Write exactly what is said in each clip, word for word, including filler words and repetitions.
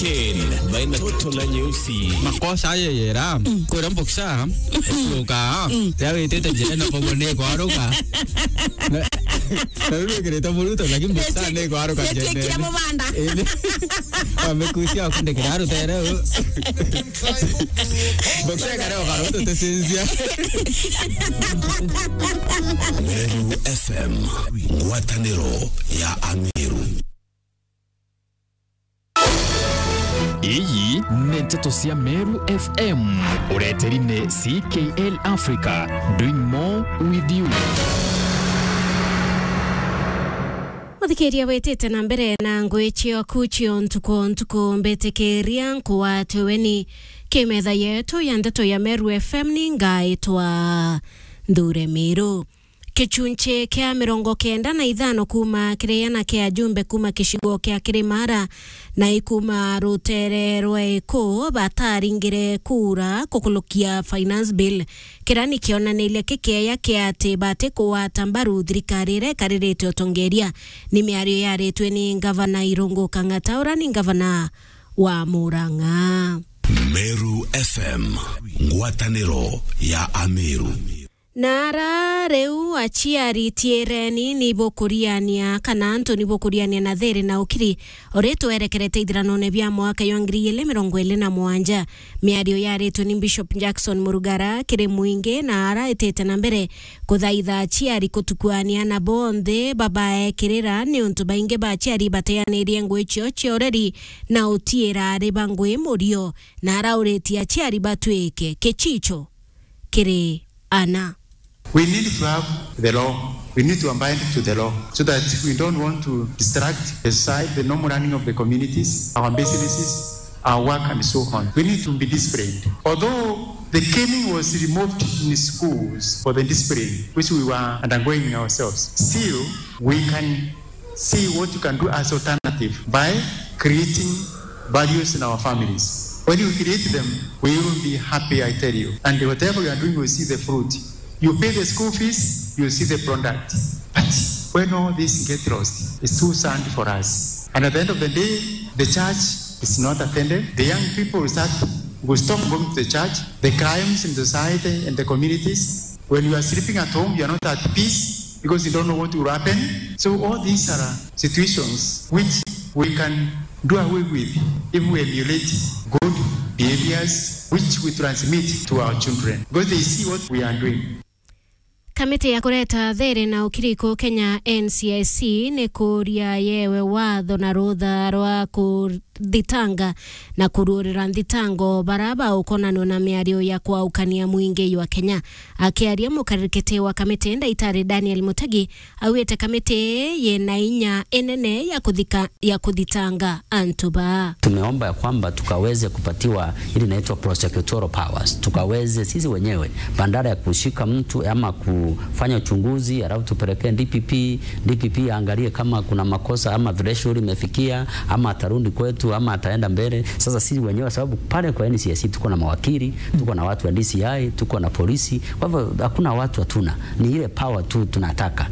Ken, baina toto na nyeusi. Makosa ayo yera, kwira mboksa, kuruka, ya witite njira na kogo ni kwaruka. Na, na riu wikirite muruto, lakini mboksa ni kwaruka njene. Kira mubanda. Indi, wamekusia akundikira rutere. Mboksa kare okaruto tesinzia. Meru F M, ngwataniro ya Amiru. Iyi ni nteto cia Meru F M, ureteri ni C K L Africa, doing more with you. Muthikiria witite na mbere na ngui cioku cio ntuku o ntuku, mbitikiria nkuwate weni. Kimetha yetu ya nteto ya Meru F M ni ngaitwa Nthure Miru. Kichunchi kia mirongo kenda na ithano kuuma kiri ana kia ajumbe kuuma kicigo kia Kirimara na ikuuma rutere rwa iku bataringire kura kukulukia finance bill. Kira ni kionaniria kikeya kia ati bati kugwata mbaru thirikari iria ikaririte utongeria. Ni miario yaritwe ni ngavana Irungu Kang'ata, ura ni ngavana wa Murang'a. Meru F M, ngwataniro ya Amiru. Na ara riu aciari tiireni ni bukuriania kana antu ni bukuriania na thiri na ukiri, o ri twerekerete ithiranone bia mwaka jwa ngiri igiri mirongo iri na mugwanja. Miario yaritwe ni Bishop Jackson Murugara kiri mwingi na ara itite na mbere kuthaitha aciari kutukuania na bonthe babaekirira, niuntu baingi ba aciari bateanirie ngui cio cia ureri na utiira ari ba ngui murio, na arauritie aciari batwike kichicho kiri ana. We need to have the law. We need to abide to the law so that we don't want to distract the society, the normal running of the communities, our businesses, our work, and so on. We need to be disciplined. Although the caning was removed in schools for the discipline which we were undergoing ourselves, still we can see what you can do as alternative by creating values in our families. When you create them, we will be happy, I tell you. And whatever you are doing, we see the fruit. You pay the school fees, you see the product. But when all this get lost, it's too sad for us. And at the end of the day, the church is not attended. The young people will start, will stop going to the church. The crimes in society and the communities, when you are sleeping at home, you are not at peace because you don't know what will happen. So all these are situations which we can do away with if we emulate good behaviors which we transmit to our children, because they see what we are doing. Kamiti ya kureta thiri na ukiri ku Kenya, N C I C, ni kuria yewe watho na rutha rwa kuthitanga na kuruurira nthitango bara baukonanwa na miario ya kwaukania mwingi jwa Kenya. Akiaria mukarikiti wa kamiti, Ndaitari Daniel Mutegi, augite kamiti yina inya inene ya kuthika, ya kuthitanga antu baa. Tumeomba ya kwamba tukaweze kupatiwa ile inaitwa prosecutorial powers, tukaweze sisi wenyewe, badala ya kushika mtu ama kufanya uchunguzi alafu tupelekee D P P, D P P aangalie kama kuna makosa ama threshold imefikia ama atarudi kwetu ama ataenda mbele. Sasa sisi wenyewe, sababu pale kwa N C I C tuko na mawakili, tuko na watu wa D C I, tuko na polisi, kwa hivyo hakuna watu hatuna, ni ile power tu tunataka.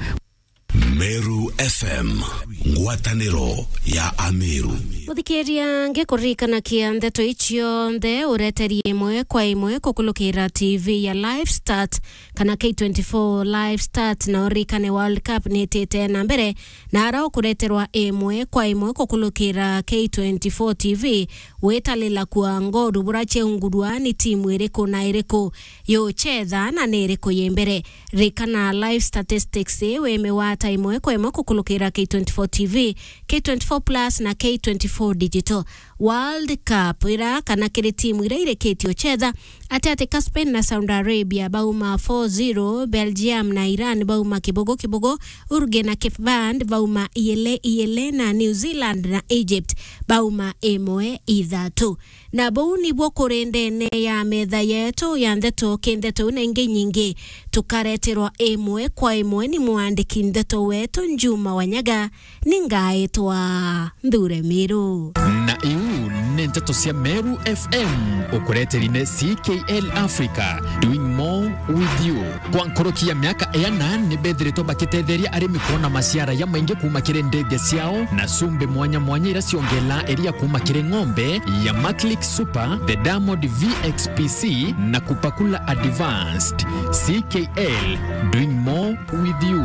Meru F M, ngwataniro ya Amiru. Muthikiria, ngikuririkanakia ndeto ici cionthe ureteri imwe kwa imwe kukulukira T V ya Live Start kana K twenty-four Live Start, na uririkane World Cup ni itite na mbere, na ara ukureterwa imwe kwa imwe kukulukira K twenty-four T V, witalila kua ngoru bura ciaungurwa ni timu iriku na iriku yuchetha na ni iriku yi mbere. Rikana live statistics, wimigwata imwe kwa imwe kukulukira K twenty-four T V, K twenty-four Plus na K twenty-four Digital. World Cup ira kana kiri timu ira irikitie uchetha, ati ati ka Spain na Saudi Arabia bauma four zero, Belgium na Iran bauma kibogo kibogo, Uruguay na Cape Verde bauma iyele iyele, na New Zealand na Egypt bauma imwe ithatu. Na buu nibuo kuri ndene ya metha yetu ya ndeto ki ndeto na ingi nyingi, tukareterwa imwe kwa imwe ni mwandiki ndeto wetu Njuma Wanyaga, ni ngaitwa Nthure Miru. Na iu ni Nteto cia Meru F M, ukureteri ni C K L Africa, doing more with you. Kwa nkoroki ya miaka ena, ni bethiritwe bakitetheria arimi kuona maciara ya maingi kuuma kiri ndege ciao na cumbi mwanya mwanya iria ciongela iria kuuma kiri ng'ombe ya Maclick Super, the Diamond V X P C na Kupakula Advanced. C K L, doing more with you.